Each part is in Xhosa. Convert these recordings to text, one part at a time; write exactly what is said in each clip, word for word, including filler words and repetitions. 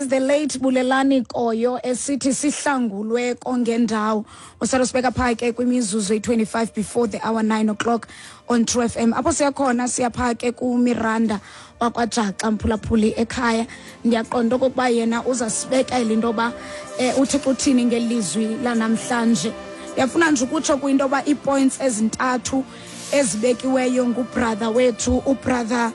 The late Bulelani Koyo esithi sihlangulwe kongendawo. Usalo sibeka pha ke kwimizuzu eyi-twenty-five before the hour nine o'clock on True F M. Apho siyakhona siyapha ke kuMiranda wakwaJaxa, mphulaphuli ekhaya. Ndiyaqonda okokuba yena uzasibekela into yoba um uThixo uthini ngelizwi lanamhlanje. Ndiyafuna nje ukutsho kwinto yoba ii-points ezintathu ezibekiweyo ngubrother wethu, ubrother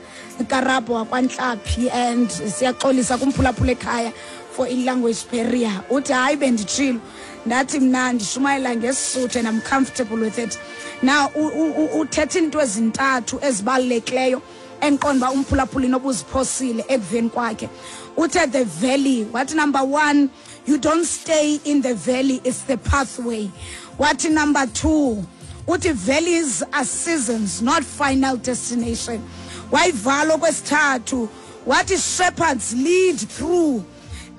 Karabo wakwantlaphi, and siyaxolisa kumphulaphula ekhaya for i-language barrier. Uthi hayi, benditshilo ndathi mna ndishumayela ngeSisuthu and I'm comfortable with it. Now uthetha into ezintathu ezibalulekileyo endiqonda uba umphulaphuli nobuziphosile ekuveni kwakhe. Uthe the valley, wathi number one, you don't stay in the valley, it's the pathway. Wathi number two, uthi valleys are seasons, not final destination. Wayivala okwesithathu wathi shepherds lead through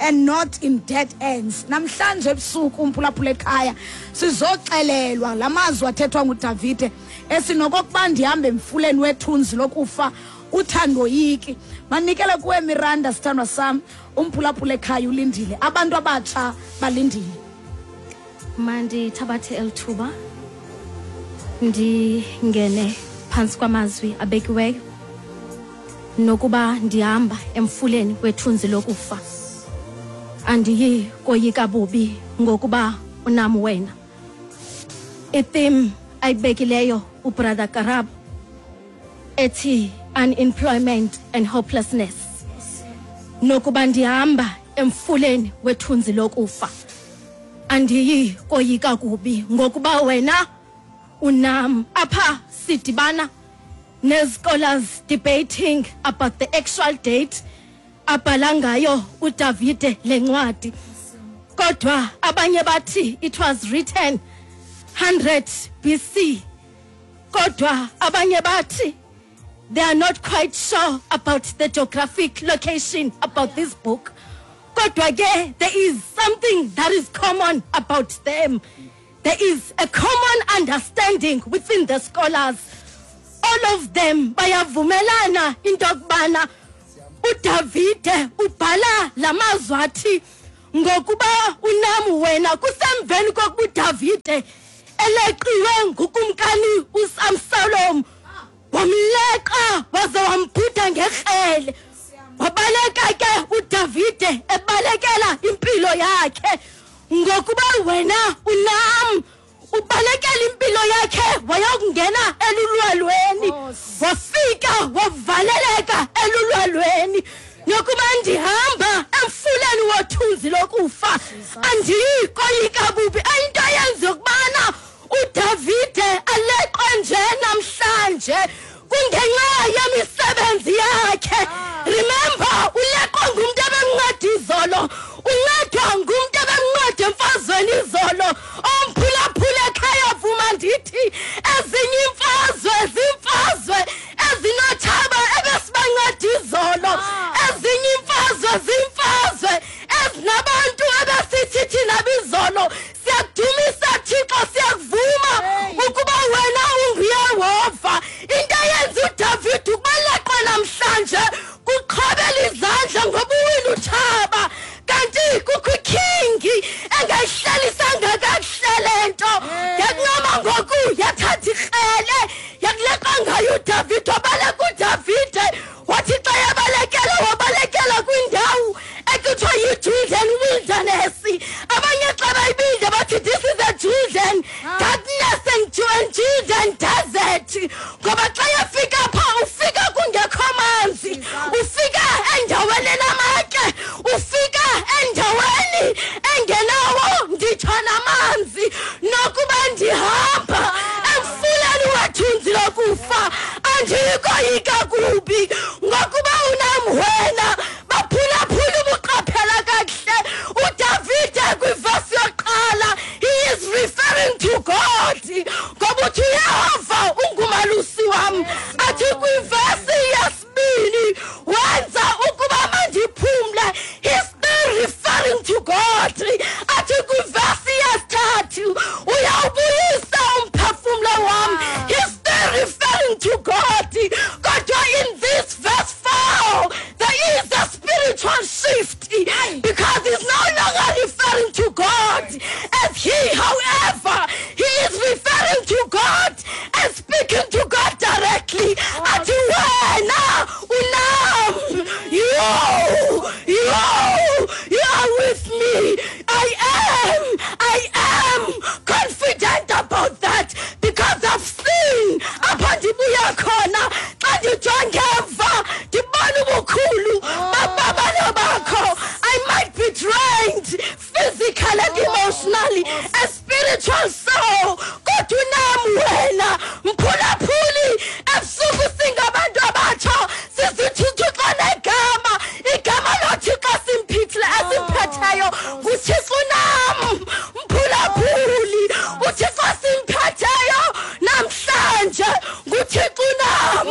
and not in dead ends. Namhlanje ebusuku umphulaphula ekhaya sizoxelelwa la mazwi athethwa nguDavide esinokokuba ndihambe emfuleni wethunzi lokufa uthandoyiki. Manikele kuwe Miranda, sithandwa sam, umphulaphula ekhaya ulindile, abantu abatsha balindile. Mandithabathe elithuba ndingene phantsi kwamazwi abekiweyo. Nokuba ndihamba emfuleni wethunzi lokufa, andiyi koyika bubi ngokuba unam wena. I-theme ayibekileyo ubrother Karabo ethi unemployment and hopelessness. Nokuba ndihamba emfuleni wethunzi lokufa, andiyi koyika kubi ngokuba wena unam. Apha sidibana ne-scholars debating about the actual date abhala ngayo uDavide lencwadi, kodwa abanye bathi it was written one hundred B C, kodwa abanye bathi they are not quite sure about the geographic location about this book. Kodwa ke there is something that is common about them. There is a common understanding within the scholars. All of them bayavumelana into yokubana uDavide ubhala lamazwi athi ngokuba unam wena kusemveni kokuba uDavide eleqiwe ngukumkani uSamsalom, wamleqa waze wambhuda ngekrele. Wabaleka ke uDavide ebalekela impilo yakhe ngokuba wena unam. Ubalekela impilo yakhe wayokungena elulwalweni, wafika wavaleleka elulwalweni. Nokuba ndihamba emfuleni wothunzi lokufa, andiyi koyika bubi. Into yenza ukubana uDavide aleqwe nje namhlanje kungenxa yemisebenzi yakhe. Remember, uleqwe ngumntu ebemnceda izolo, uncedwa ngumntu ebemnceda emfazweni izolo. Omphulaphula ekhaya vuma ndithi ezinye imfazwe zimfazwe ezinotshaba ebesibanceda izolo, ezinye imfazwe zimfazwe ezinabantu ebesithi thina bizolo siyakudumisa Thixo, siyakuvuma ukuba wena unguYehova. Into eyenza uDavide ukuba leqwe namhlanje spiritual shift, because he's no longer referring to God as he. However, he is referring to God and speaking to God directly. Athi wena unam, you, you, you are with me. I am, I am confident about that, because I've seen apha ndibuya khona. Xa ndijonge emva ndibona ubukhulu bababalo bakho. I might be drained physically and emotionally and spiritual soul, kodwa unam wena. Mphulaphuli, ebusuku singabantu abatsha sizithi uThixo negama, igama loThixo simphithile esimphetheyo nguThixo unam. Mphulaphuli, uThixo simphetheyo namhlanje nguThixo unam.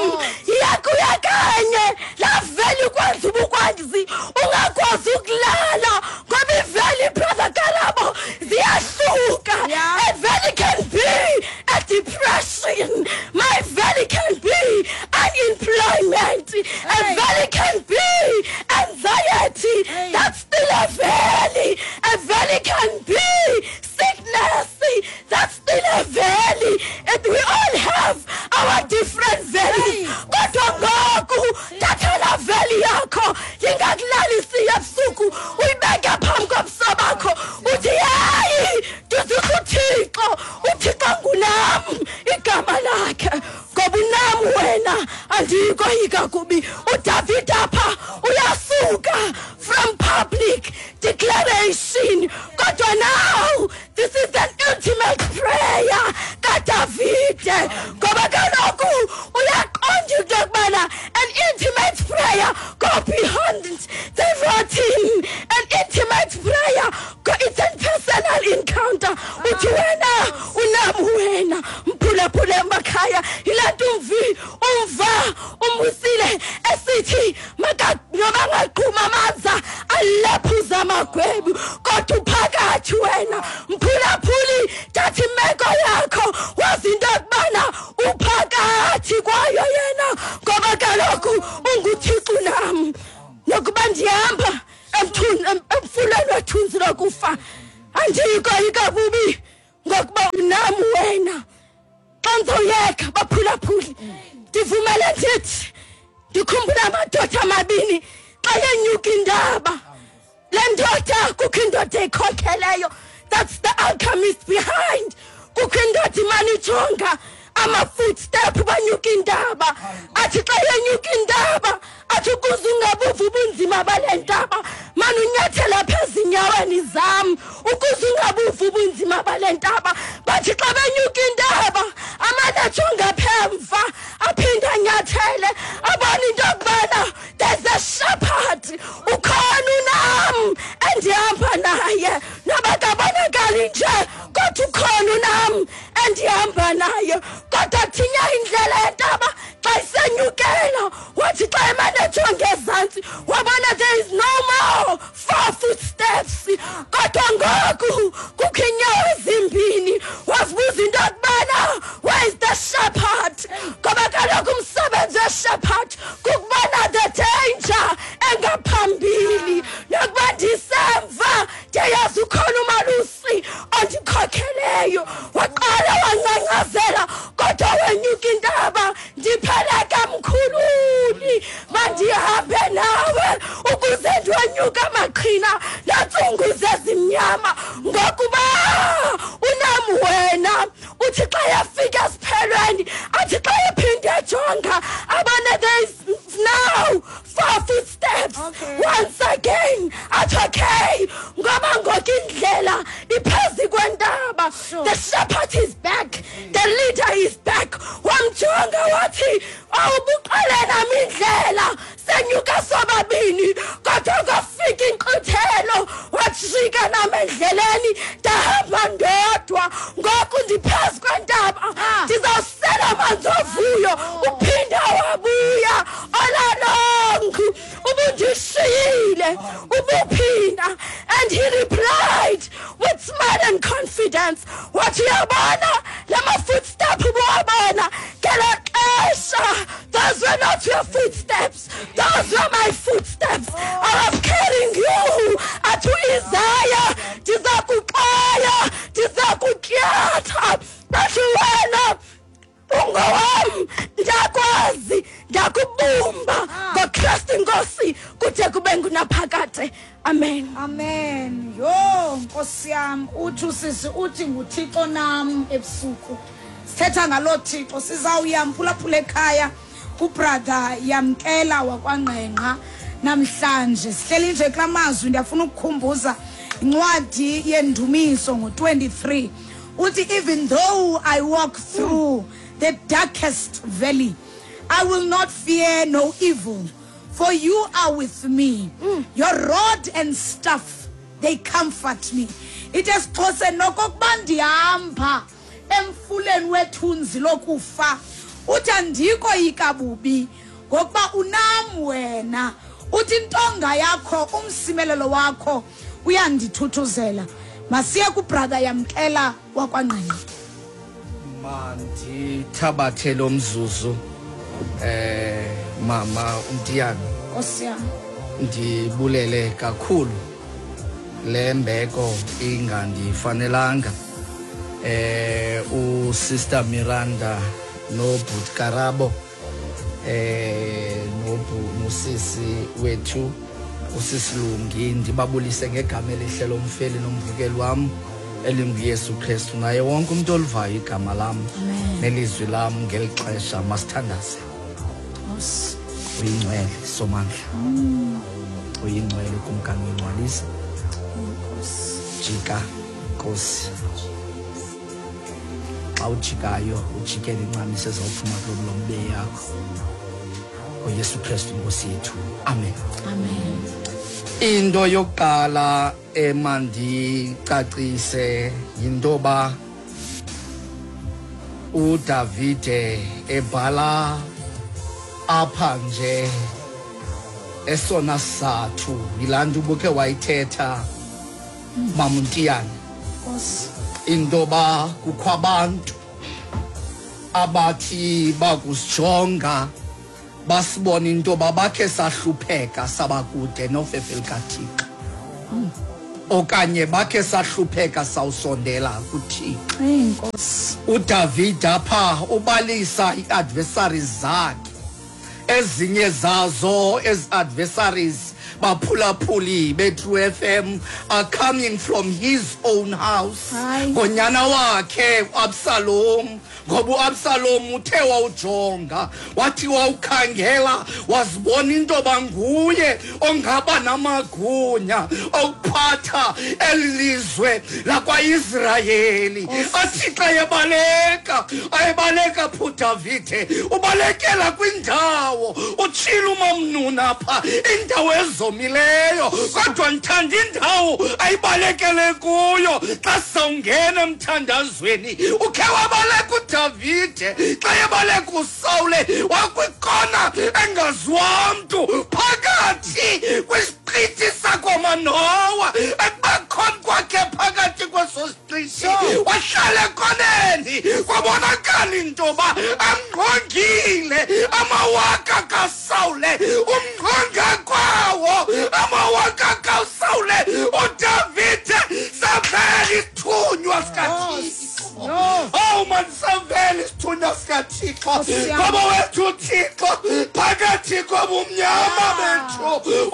Iyakuya kanye laveli ukwenza ubukwazi ungakwazi ukulala, ngoba iveli, brother Karabo, ziyahluka. Yeah. A valley can be a depression. My valley can be unemployment. A Hey. valley can be anxiety. Hey. That's still a valley. A valley can be sickness. That's still a valley. And we all have our different valleys. Hey. Kodwa ngoku thatha la valley yakho ingakulalisi ebusuku, uyibeke phambi kobuso bakho, uthi yeyi, ndizisa uThixo, uThixo ngunam igama lakhe, ngoba unam wena andiyikoyika kubi. uDavid apha uyasuka from public declaration, kodwa now this is an intimate prayer kaDavide, ngoba kaloku uyaqonda into yokubana an intimate prayer go beyond the routine. An intimate prayer go, it's a personal encounter. Uthi wena unam wena. Mphulaphule emakhaya, yilaa nto umvi umva umusile esithi maka noba angaqhuma amanzi alephuza amagwebu, kodwa uphakathi wena. Mphulaphuli, thatha imeko yakho wazi into yokubana uphakathi kwayo yena, ngoba kaloku unguThixo nam. Nokuba ndihamba emthun-, em-, emfuleni wethunzi lokufa, andiyikoyika bubi, ngokuba unam wena. Xa ndizoyeka baphulaphuli, ndivumele ndithi ndikhumbula amadoda amabini xa yenyuka indaba. Le ndoda, kukho indoda ekhokheleyo, that's the alchemist behind. Kukho indoda imane ijonga ama-footstep banyuka indaba. Athi xa yenyuka indaba, athi ukuze ungabuva ubunzima bale ntaba, mane unyathela phezu ezinyaweni zam, ukuze ungabuva ubunzima bale ntaba. Bathi xa benyuka indaba, amane ajonga phemva, aphinde anyathele, abone into yokubana there's a shepherd, ukhona unam endihamba naye. Noba kabonakali nje, kodwa ukhona unam endihamba naye. Kodwa thinya indlela yentaba xa isenyukela, wathi xa emane ejonge ezantsi, wabona there is no more four footsteps, kodwa ngoku kukho iinyawo ezimbini. Wazibuza into yokubana where is the shepherd, ngoba kaloku umsebenzi weshepherd kukubona the danger engaphambili, nokuba ndisemva ndiyayazi ukhona umalusi ondikhokheleyo. Waqala wangcangcazela, kodwa wenyuka intaba. Ndipheleke mkhululi, mandihambe nawe ukuze ndiwenyuka amaqhina neentsungu zezimnyama, ngokuba unam wena. Uthi xa yafika esiphelweni, athi xa ephinde ejonga, abone there is now four footsteps. Okay. Once again athi okay, ngoba ngoku indlela iphezu kwentaba. Sure. The shepherd is back, the leader is back. Wamjonga wathi awubuqale nam indlela, senyuka sobabini, kodwa kwafika inkqithelo, wajika nam endleleni, ndahamba ndodwa. Ngoku ndiphezu kwentaba, Ah. ndizawusela amanzi ovuyo. Uphinda wabuya all along, ubundishiyile, ubuphinda. And he replied with smile and confidence, wathi uyabona lama footstep ubuwabona ngelo xesha, those were not your footsteps, those were my footsteps. I was kude kube ngunaphakade. Amen. Amen. Yho, Nkosi yam, uthi usisi uthi nguThixo nam ebusuku. Sithetha ngaloo Thixo, sizawuya mphulaphula ekhaya kubrother Yamkela wakwaNgqengqa namhlanje. Sihleli nje kula mazwi, ndiyafuna ukukhumbuza incwadi yendumiso ngo-twenty-three. Uthi, even though I walk through the darkest valley, I will not fear no evil, for you are with me. Mm. Your rod and staff, they comfort me. It is xhose nokokuba ndihamba emfuleni wethunzi lokufa, uthi andikoyika bubi, ngokuba unam wena. Uthi intonga yakho, umsimelelo wakho uyandithuthuzela. Masiye kubrother Yamkela wakwaNgqengqa. Mandithabathe lo mzuzu eh mama uMtiyana. Nkosi yam. Ndibulele kakhulu le mbeko ingandifanelanga. Eh uSister Miranda noBhut Karabo eh nobu nosisi wethu uSisilungi, ndibabulise ngegama elihle lomfeli nomvukeli wam elinguYesu Kristu, naye wonke umuntu olivayo igama lam nelizwi lam ngeli xesha. Masithandaze. Uyingcwele Somandla, uyingcwele Kumkani wengcwalisa. Jika Nkosi, xa ujikayo ujikele incamisa ezawuphuma kulo mlomo yakho. NgoYesu Kristu Nkosi yethu. Amen. Amen. Into yokuqala emandicacise yintoba uDavide ebhala apha nje esona sizathu yilaa nto ubukhe wayithetha maMntiyana, intoba kukho abantu abathi bakusijonga basibona intoba bakhe sahlupheka sabakude nofefe likaThixo, okanye bakhe sahlupheka sawusondela kuThixo. Inkosi. uDavid apha ubalisa ii-adversaries zakhe, ezinye zazo ezi adversaries baphulaphuli be-True F M are coming from his own house. Ngonyana wakhe uAbsalom, ngoba uAbsalom uthe wawujonga wathi wawukhangela wazibona into banguye ongaba namagunya okuphatha elizwe lakwaIsrayeli. Athi xa ebaleka, ayebaleka phu Davide, ubalekela kwindawo utshila umamnuna apha, indawo ezomileyo, kodwa ndithanda indawo ayibalekele kuyo. Xa sawungena emthandazweni, ukhe wabaleka uDavide, xa ebaleka uSawule wakwikona engaziwa mntu phakathi kwisiqithi sakwaManowa, ekubakhona kwakhe phakathi kweso siqithi wahlala ekoneni, kwabonakala intoba amngqongile amawaka kaSawule, umngqonga kwawo amawaka kaSawule. uDavide savela isithunywa sikaThixo. Oh man, savela isithunywa sikaThixo. Ngoba wethu uThixo phakathi kobumnyama bethu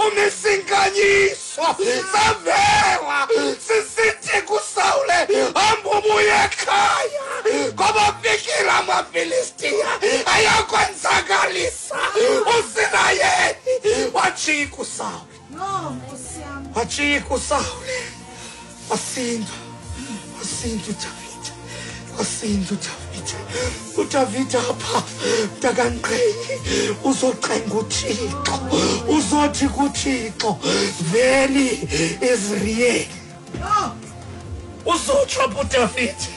umisinkanyiso. Savela sisithi kuSawule, hamba ubuye ekhaya, ngoba fikile amaFilistiya ayakwenzakalisa uSirayeli. Wajika uSawule, wajika uSawule, wasinda, wasinda uDavide, wasinda uDavide. uDavide apha mntakanqeyi uzocenga uThixo, uzothi kuThixo, veli Israel. Uzotsho apha uDavide.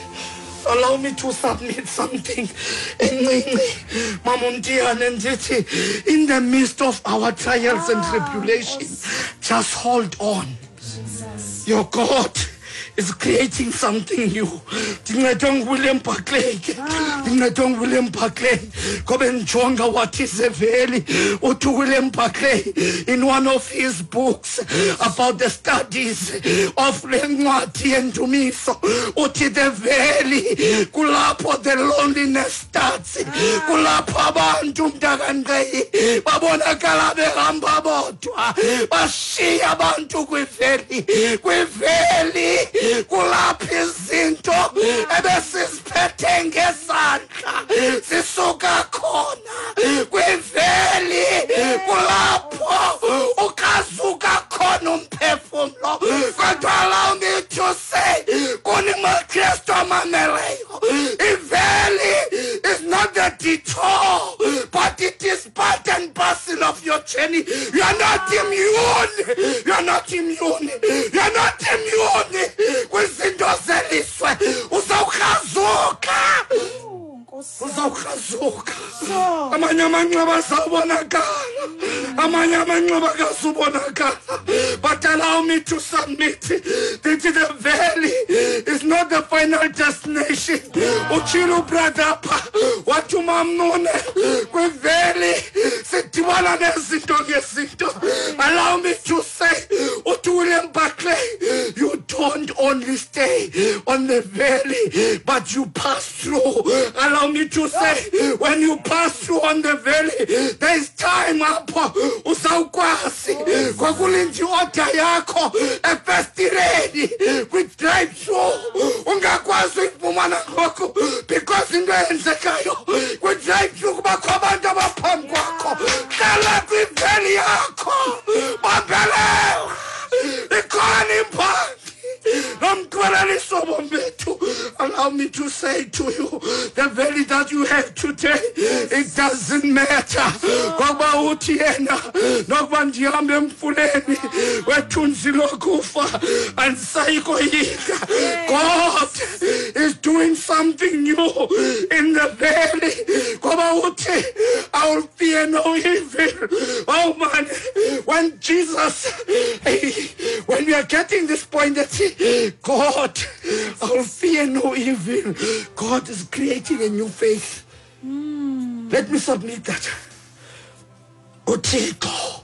Allow me to submit something. Mama Mtiyane, ndithi, in the midst of our trials and tribulations, just hold on. Your God is creating something new. Ndincedwe nguWilliam Barclay ke. Ndincedwe nguWilliam Barclay. Ngoba ndijonga what is a valley. Uthi William Barclay in one of his books about the studies of le ncwadi yendumiso, uthi the valley kulapho the loneliness starts. Kulapho abantu mntakanqeyi babonakala behamba bodwa, bashiya abantu kwiveli. Kwiveli kulapho izinto ebesiziphethe ngezandla zisuka khona. Kwiveli kulapho ukazuka khona umphefumlo. Kodwa allow me to say, kuni maKristu amameleyo, iveli is not the detour, but it is part and parcel of your journey. You are not immune. You are not immune. You are not immune kwizinto zeliswe. Uzawukrazuka. Uzawukrazuka. Amanye amanxeba azawubonakala. Amanye amanxeba akazubonakala. But allow me to submit that the valley is not the final destination. Utshilo brother pha wathi umamnune kwiveli sidibana nezinto ngezinto. Allow me to say, uthi William Barclay, you don't only stay on the valley, but you pass through. Allow me to say, when you pass through on the valley, there is time apho uzawukwazi kwakulinda i-order yakho efestireni kwi-drive through. Ungakwazi uyifumana ngoku because into eyenzekayo kwi-drive through kubakho abantu abaphambi kwakho. Hlala kwiveli yakho, bambelela, ikhona impangi. Allow me to say to you, the valley that you have today, it doesn't matter. Ngoba uthi yena nokuba ndihambe emfuleni wethunzi lokufa andisayikoyika. God is doing something new in the valley. Ngoba uthi I will fear no evil. Oh man, when Jesus, when we are getting this point that God, I will fear no evil. God is creating a new faith. Mm. Let me submit that. uThixo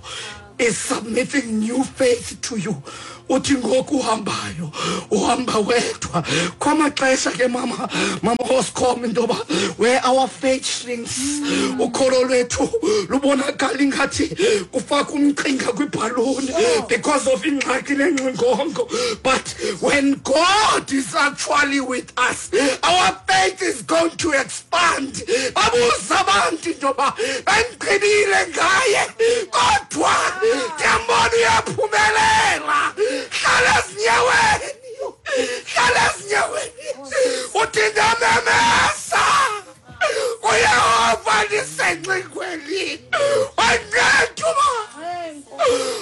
is submitting new faith to you. Uthi ngoku uhambayo, uhamba wedwa. Kwamaxesha ke mama, mama Oscom into yoba where our faith shrinks, ukholo lwethu lubonakala ingathi kufaka umqhinga kwibhaluni because of ingxaki lengxingongo. But when God is actually with us, our faith is going to expand. Babuza abantu into yoba bendigqibile ngaye, kodwa ndiyambona uyaphumelela. Hlala ezinyaweni, hlala ezinyaweni. Uthi ndamemesa kuYehova ndisengxingweni, wandinceda uba.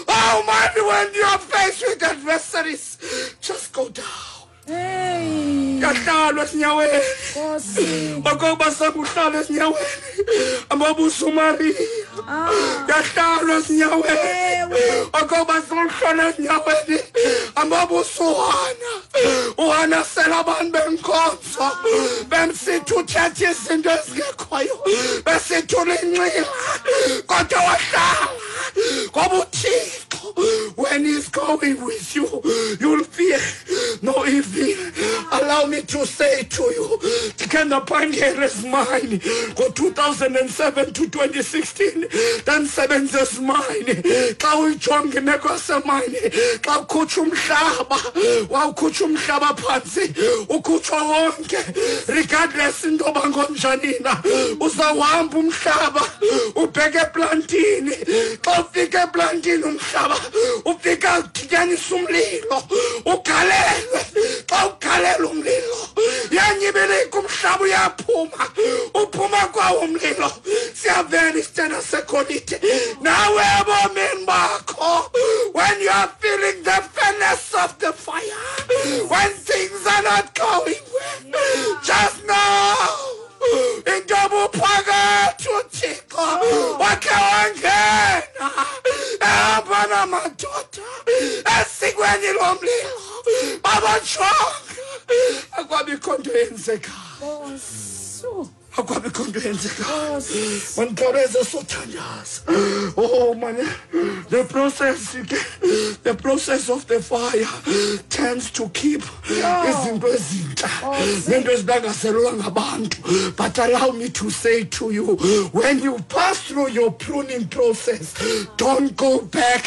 Oh man, when you are faced with adversaries, just go down. Yahlalwa ezinyaweni. Okokuba sakuhlala ezinyaweni, amabuso uMariya. Yahlalwa ezinyaweni. Okokuba sakuhlala ezinyaweni, amabuso uHana. uHana sela abantu benkonzo, bemsithi uthethe izinto ezingekhoyo, besithi ulinxila, kodwa wahlala. Ngoba uThixo, when he's going with you, you'll fear no evil. Allow me to say to you, ndikhe ndaphangela ezimayini ngo-two thousand seven to twenty sixteen, ndandisebenza ezimayini. Xa uyijonga imeko yasemayini, xa ukhutshwa umhlaba, wawukhutshwa umhlaba phantsi, ukhutshwa wonke, regardless into yoba ngonjani na, uzawuhamba umhlaba ubheke eplantini. Xa ufika eplantini umhlaba ufika udityanisa umlilo, ugalelwe. Xa ugalela umlilo, yanyibilika umhlaba uyaphuma, uphuma kwawo umlilo, siyavela isitena segolide. Nawe ebomini bakho, when you are feeling the furnace of the fire, when things are not going well, just know into yoba uphakathi uThixo wakhe wangena ehamba namadoda esikweni lomlilo. Babajonga akwabikho nto yenzekayo. Akwabikho nto yenzekayo. Mandikhawuleze sothandaza. Oh man, the process, the process of the fire tends to keep izinto ezintsha nento ezilangazelelwa ngabantu. But allow me to say to you, when you pass through your pruning process, don't go back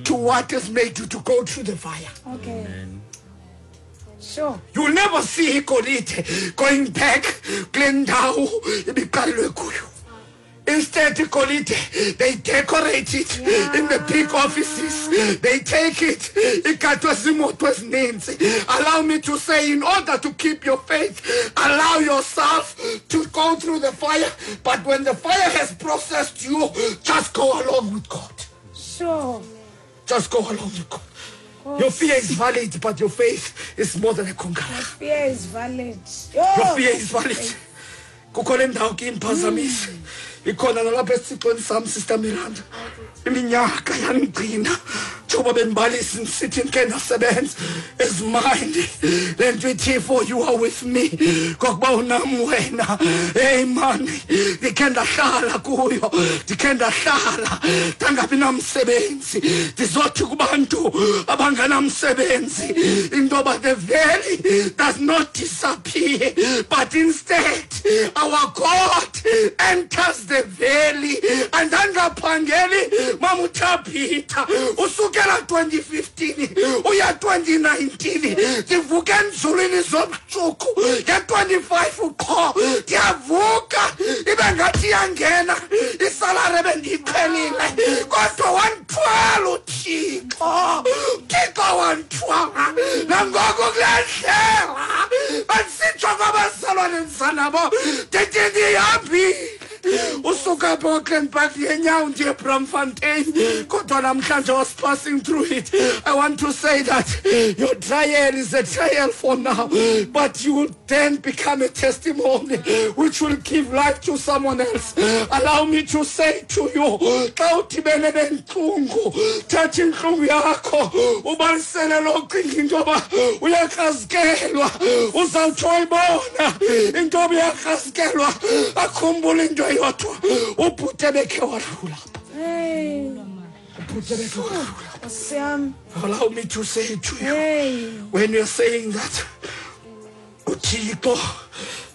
to what has made you to go through the fire. Okay. Sure. You'll never see igolide going back kule ndawo ibiqalelwe kuyo. Instead, igolide, they decorate it yeah. in the big offices. They take it. Igatwe ziimoto ezininzi. Allow me to say, in order to keep your faith, allow yourself to go through the fire. But when the fire has processed you, just go along with God. Sure. Just go along with God. Your fear is valid, but your faith is more than a conqueror. Your fear is valid. Your fear is valid. Kukho le ndawo ke imphazamise. Ikhona nalapha esithixweni sam, Sister Miranda. Iminyaka yandigcina. Njengoba bendibalisa ndisithi ndikhe ndasebenza ezimandi. Le nto ithi, for you are with me. Ngokuba unam wena. Hey man, ndikhe ndahlala kuyo. Ndikhe ndahlala ndangabi namsebenzi. Ndizothi kubantu abanganamsebenzi into yoba the valley does not disappear, but instead our God enters the valley. Andangaphangeli mama uThabitha usukela twenty fifteen uya twenty nineteen. Ndivuke enzulwini zomtsuku nge-twenty-five qho ndiyavuka ibe ngathi iyangena isalari ebendiyiqhelile, kodwa wandithwala uThixo. uThixo wandithwala nangoku kule ndlela andisitsho kwabazalwane ndizanabo ndithi ndihambile. Usuka apha Auckland Park ngenyawo ndiye Braamfontein, kodwa namhlanje I was passing through it. I want to say that your trial is a trial for now, but you will then become a testimony which will give life to someone else. Allow me to say to you, xa udibene nentlungu, thatha intlungu yakho ubalisele lo cinga into yoba uyakrazikelwa, uzawutsho uyibona into yoba uyakrazikelwa, akhumbule into eyodwa, ubhuti ebekhe wadlula apha. Hey. Ubhuti ebekhe wadlula. Nkosi yam. Allow me to say to you, Hey. when you're saying that uThixo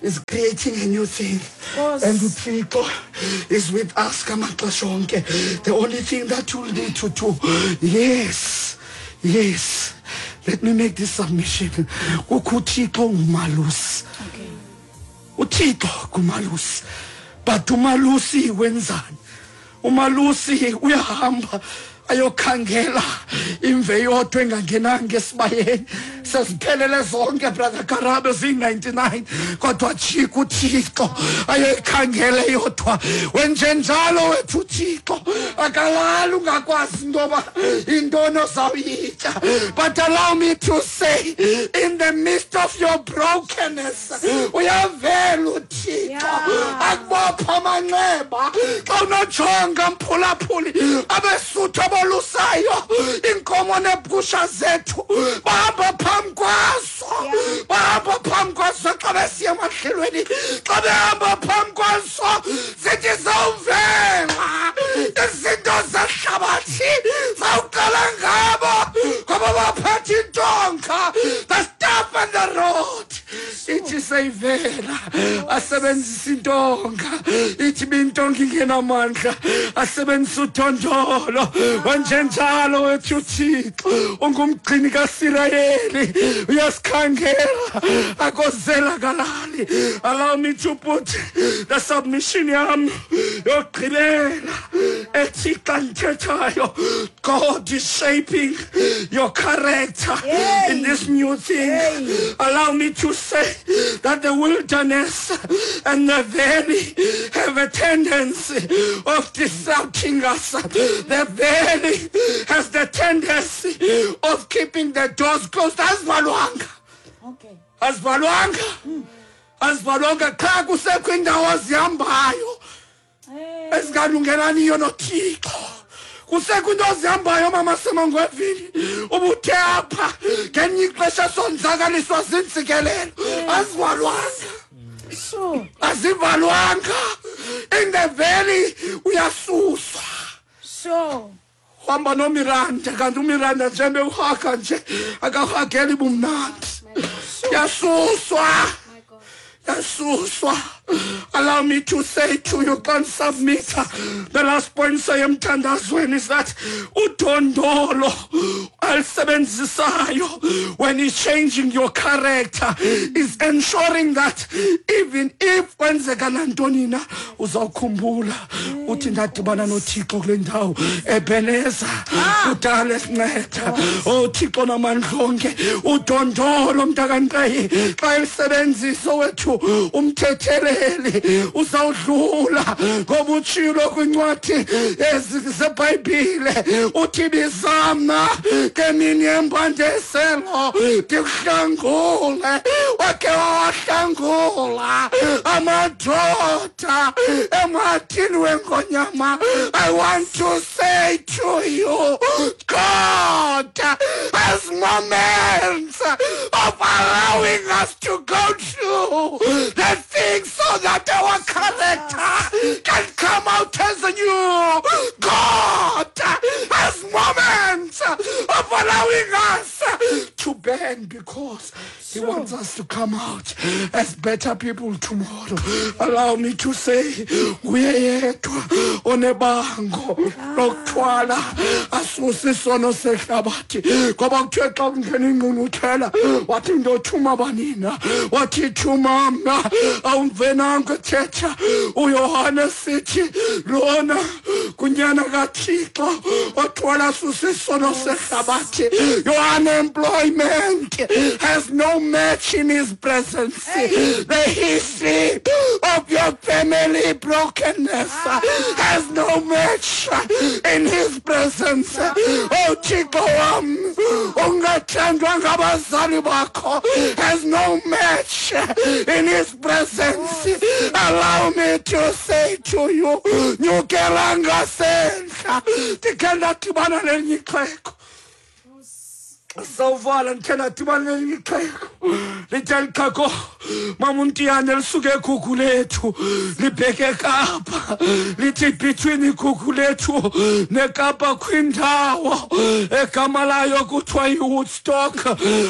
is creating a new thing, Nkosi. and uThixo is with us ngamaxesha onke. The only thing that you'll need to do, yes, yes, let me make this submission. Kukho uThixo ngumalusi. Okay. uThixo ngumalusi. But umalusi wenzani? Umalusi uyahamba ayokhangela imve yodwa engangenanga esibayeni. Seziphelele zonke, Brother Karabe, ziyi-ninety-nine, kodwa jika uThixo ayoyikhangela yodwa. Wenjenjalo wethu uThixo akalali ungakwazi into yoba yintoni ozawuyitya. But allow me to say, in the midst of your brokenness, uyavela uThixo Yeah. akubopha amanxeba. Xa unojonga mphulaphuli, abesuthu abolusayo iinkomo neegusha zethu bahamba phambi kwazo, Yeah. bahamba phambi kwazo xa besiya emadlelweni. Xa behamba phambi kwazo zithi zawuvela izinto zehlabathi, zawuqala ngabo ngoba baphethe intonga, the staff and the rod. Ithi seyivela asebenzisa intonga, ithi bintonga ingenamandla asebenzisa udondolo. Wenjenjalo wethu uThixo ungumgcini kaSirayeli, uyasikhangela akozela kalali. Allow me to put the submission yam yokugqibela ethi xa ndithethayo, God is shaping your character Yay. in this new thing. Yay. Allow me to say that the wilderness and the valley have a tendency of disrupting us. The valley has the tendency of keeping the doors closed. Azivalwanga. Okay. Azivalwanga. Azivalwanga qha kusekho indawo ozihambayo Hey. ezingalungelaniyo noThixo. Kusekho into ozihambayo mama semangwevini ubuthe apha ngelinye ixesha sonzakaliswa ziintsikelelo azivalwanga. Sure. Azivalwanga. In the valley uyasuswa. Sure. Hamba noMiranda kanti uMiranda njengoba uhaga nje akahageli bumnandi. Yasuswa. Yasuswa. Allow me to say to you, can't submit. The last point sayemthandazweni is that udondolo alisebenzisayo when he's changing your character is ensuring that even if kwenzeka nantoni na uzawukhumbula uthi ndadibana noThixo kule ndawo eBeneza kudala esinceda. Oh Thixo namandla onke udondolo mntakaNqeyi xa elisebenzisa wethu umthetheleli uzawudlula ngoba utshilo kwincwadi zeBhayibhile uthi bizamna ngemini yembandezelo ndikuhlangule. Wakhe wawahlangula amadoda emathini wengonyama. I want to say to you, God has moments of allowing us to go through the things so that our character can come out as a new. God has moments of allowing us to bend because he wants us to come out as better people tomorrow. Allow me to say, nguye yedwa onebango lokuthwala asuse isono sehlabathi. Ngoba kuthiwe xa kungena ingqungquthela wathi ndothuma banina, wathi thuma mna. Awumvenanga ethetha uYohane sithi lona kunyana kaThixo othwala asuse isono sehlabathi. Your unemployment has no match in his presence. The history of your family brokenness has no match in his presence. Oh Thixo wam ungathandwa ngabazali bakho has no match in his presence. Allow me to say to you, nyukela ngasentla ndikhe ndadibana nelinye ixhego. Sawuvala ndikhe ndadibana nelinye ixhego. Lithe lixhego mama uNtiyane lisuke eGugu lethu libheke eKapa. Lithi between iGugu lethu neKapa kwindawo egama layo kuthiwa yiWoodstock.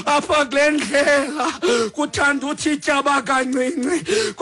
Apha kule ndlela kuthanda uthi tyaba kancinci.